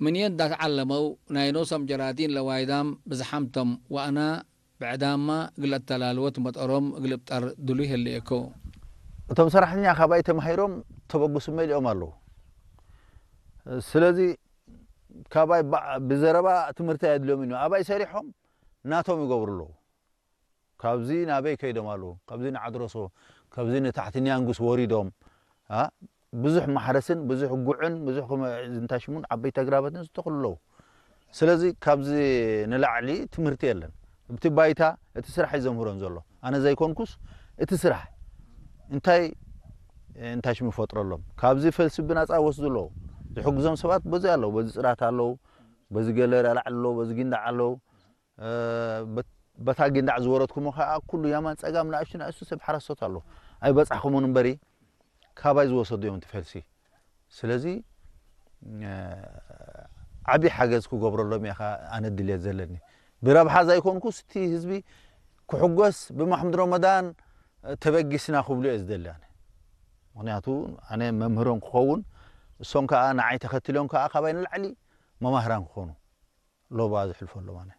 ምን የዳት ዓለመው ናይ ኖሶም ጀራቲን ለዋይዳም ብዝሓምቶም ዋእና ብዕዳማ እግል አተላልወት መጠሮም እግል እብጠር ድሉ ይህልየኮ። እቶም ሰራሕተኛ ካባይ ተማሂሮም ተበግሱ መሊኦም ኣለዉ። ስለዚ ካባይ ብዘረባ ትምህርቲ ኣየድልዮም እዩ። ኣባይ ሰሪሖም ናቶም ይገብሩ ኣለዉ። ካብዚ ናበይ ከይዶም ኣለዉ፣ ካብዚ ንዓድረሶ፣ ካብዚ ንታሕቲ ኒያንጉስ ወሪዶም ብዙሕ ማሕረስን ብዙሕ ጉዕን ብዙሕ እንታይ ሽሙን ዓበይቲ ኣግራባትን ዝተኽሉ ኣለዉ። ስለዚ ካብዚ ንላዕሊ ትምህርቲ የለን። እቲ ባይታ እቲ ስራሕ እዩ ዘምህሮም ዘሎ። ኣነ ዘይኮንኩስ እቲ ስራሕ እንታይ እንታይ ሽሙ ይፈጥረሎም። ካብዚ ፈልሲ ብናፃ ወስዱ ኣለዉ። ዝሕግዞም ሰባት በዚ ኣለዉ። በዚ ፅራት ኣለዉ፣ በዚ ገለ ላዕሊ ኣለዉ፣ በዚ ጊንዳዕ ኣለዉ። በታ ጊንዳዕ ዝወረድኩሞ ከዓ ኩሉ ያማን ፀጋም ንኣሽቱ ንኣሽቱ ሰብ ሓረስቶት ኣለዉ። ኣይበፃሕኩምን እምበሪ ካባይ ዝወሰዱ እዮም እቲ ፈልሲ። ስለዚ ዓብዪ ሓገዝ ክገብረሎም እየ ኣነ ድልየት ዘለኒ። ብረብሓ ዘይኮንኩስ እቲ ህዝቢ ክሕጎስ ብማሕሙድ ረመዳን ተበጊስና ክብሉ እየ ዝደሊ ኣነ። ምክንያቱ ኣነ መምህሮም ክኸውን እሶም ከዓ ንዓይ ተኸትሎም ከዓ ካባይ ንላዕሊ መማህራን ክኾኑ ሎባ ዝሕልፈሎም ኣነ።